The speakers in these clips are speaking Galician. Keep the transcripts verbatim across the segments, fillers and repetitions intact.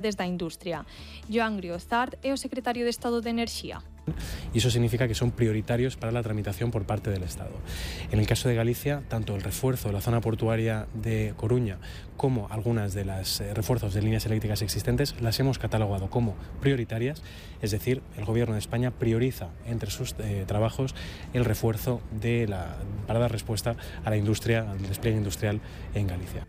desde a industria. Joan Griozart é o secretario de Estado de Enerxía. Y eso significa que son prioritarios para la tramitación por parte del Estado. En el caso de Galicia, tanto el refuerzo de la zona portuaria de Coruña como algunas de las eh, refuerzos de líneas eléctricas existentes las hemos catalogado como prioritarias, es decir, el Gobierno de España prioriza entre sus eh, trabajos el refuerzo de la, para dar respuesta a la industria, al despliegue industrial en Galicia.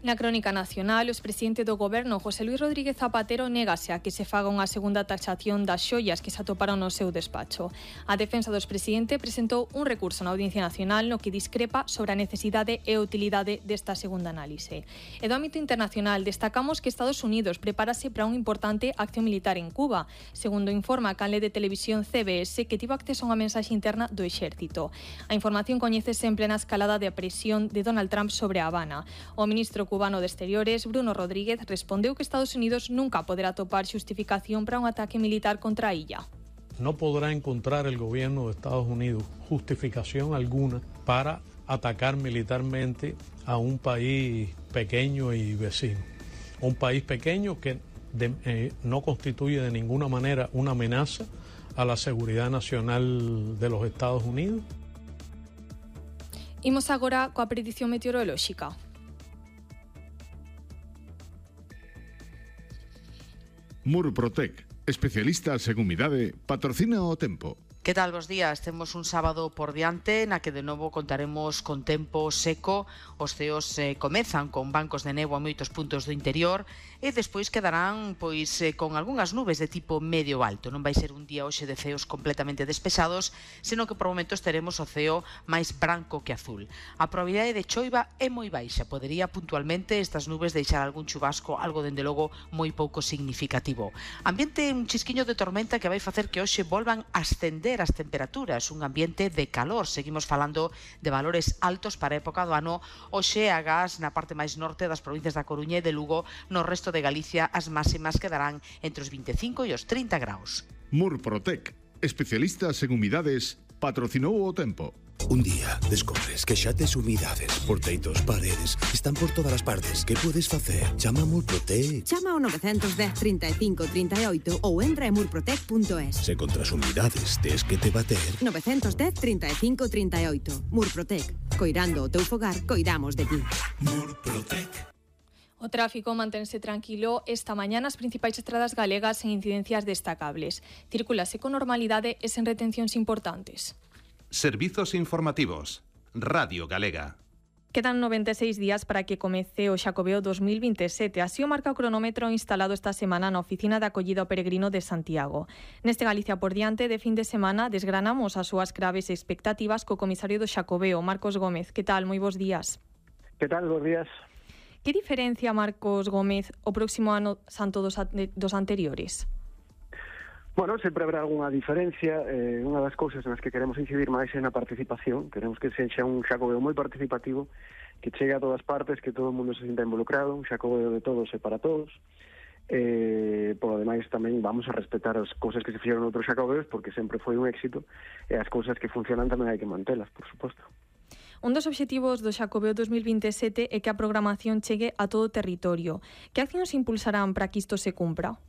Na crónica nacional, o expresidente do Goberno, José Luis Rodríguez Zapatero, négase a que se faga unha segunda taxación das xoias que se atoparon no seu despacho. A defensa do expresidente presentou un recurso na Audiencia Nacional no que discrepa sobre a necesidade e utilidade desta segunda análise. E do ámbito internacional, destacamos que Estados Unidos prepárase para unha importante acción militar en Cuba, segundo informa a canle de televisión C B S, que tivo acceso a unha mensaxe interna do exército. A información coñécese en plena escalada de presión de Donald Trump sobre a Habana. O ministro cubano de Exteriores, Bruno Rodríguez, respondeu que Estados Unidos nunca poderá topar xustificación para un ataque militar contra a illa. No podrá encontrar el gobierno de Estados Unidos justificación alguna para atacar militarmente a un país pequeño y vecino. Un país pequeño que de, eh, no constituye de ninguna manera una amenaza a la seguridad nacional de los Estados Unidos. Imos agora coa predición meteorolóxica. Murprotec, especialistas en humidade, patrocina o tempo. Que tal, bos días? Temos un sábado por diante na que de novo contaremos con tempo seco. Os ceos eh, comezan con bancos de néboa a moitos puntos do interior e despois quedarán pois eh, con algunhas nubes de tipo medio alto. Non vai ser un día hoxe de ceos completamente despesados, senón que por momentos teremos o ceo máis branco que azul. A probabilidade de choiva é moi baixa. Podería puntualmente estas nubes deixar algún chubasco, algo dende logo moi pouco significativo. Ambiente un chisquiño de tormenta que vai facer que hoxe volvan a ascender as temperaturas, un ambiente de calor. Seguimos falando de valores altos para a época do ano. Hoxe agás na parte máis norte das provincias da Coruña e de Lugo, no resto de Galicia as máximas quedarán entre os vinte e cinco e os trinta graus. Murprotec, especialistas en humidades, patrocinou o tempo. Un día descobres que xa tes humidades por teitos, paredes, están por todas as partes. Que podes facer? Chama a Murprotec. Chama ao nove un cero, trinta e cinco, trinta e oito ou entra en murprotec punto es. Se contra as humidades tes que te bater. nove un cero, trinta e cinco, trinta e oito. Murprotec. Coirando o teu fogar, coidamos de ti. Murprotec. O tráfico mantense tranquilo esta mañá nas principais estradas galegas sen incidencias destacables. Circulase con normalidade e sen retencións importantes. Servizos informativos. Radio Galega. Quedan noventa e seis días para que comece o Xacobeo dos mil vinte e sete. Así o marca o cronómetro instalado esta semana na oficina de acollida ao peregrino de Santiago. Neste Galicia por diante de fin de semana desgranamos as súas graves expectativas co comisario do Xacobeo, Marcos Gómez. Que tal? Moi bons días. Que tal? Bos días. Que diferencia, Marcos Gómez, o próximo ano santo dos, dos anteriores? Bueno, sempre habrá algunha diferencia. Eh, unha das cousas nas que queremos incidir máis é na participación. Queremos que sexa un Xacobeo moi participativo, que chegue a todas partes, que todo o mundo se sinta involucrado, un Xacobeo de todos e para todos. Eh, por ademais tamén vamos a respetar as cousas que se fixeron noutros Xacobeos, porque sempre foi un éxito, e as cousas que funcionan tamén hai que mantelas, por suposto. Un dos obxectivos do Xacobeo dos mil vinte e sete é que a programación chegue a todo o territorio. Que accións impulsarán para que isto se cumpra?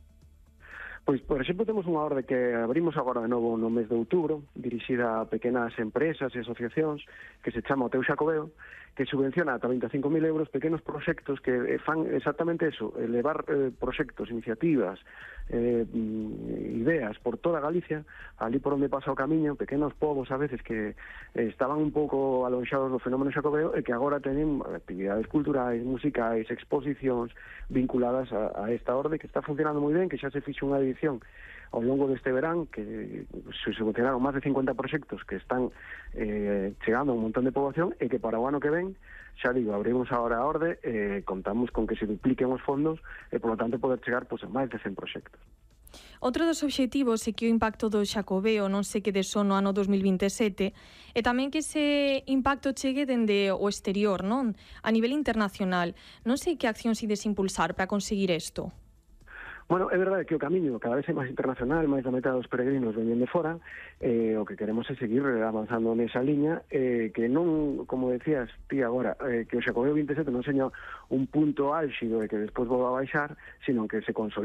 Pois, por exemplo, temos unha orde que abrimos agora de novo no mes de outubro, dirixida a pequenas empresas e asociacións, que se chama o Teu Xacobeo, que subvenciona ata vinte e cinco mil euros pequenos proxectos que fan exactamente eso, elevar eh, proxectos, iniciativas, eh, ideas por toda Galicia, ali por onde pasa o camiño, pequenos povos a veces que eh, estaban un pouco alonxados do fenómeno Xacobeo e que agora teñen actividades culturais, musicais, exposicións vinculadas a, a esta orde que está funcionando moi ben, que xa se fixo unha edición ao longo deste verán, que se subvencionaron máis de cincuenta proxectos que están eh, chegando a un montón de poboación e que para o ano que ven, xa digo, abrimos agora a orde e eh, contamos con que se dupliquen os fondos e, por lo tanto, poder chegar pues, a máis de cen proxectos. Outro dos obxectivos é que o impacto do Xacobeo non se quede só no ano dos mil vinte e sete e tamén que ese impacto chegue dende o exterior, non? A nivel internacional. Non sei que accións ides impulsar para conseguir isto. Bueno, é verdade que o camiño cada vez é máis internacional, máis da metade dos peregrinos veñen de fora, eh, o que queremos é seguir avanzando nesa liña, eh, que non, como decías ti agora, eh, que o Xacobeo vinte e sete non seña un punto álxido e que despois volva a baixar, sino que se consolide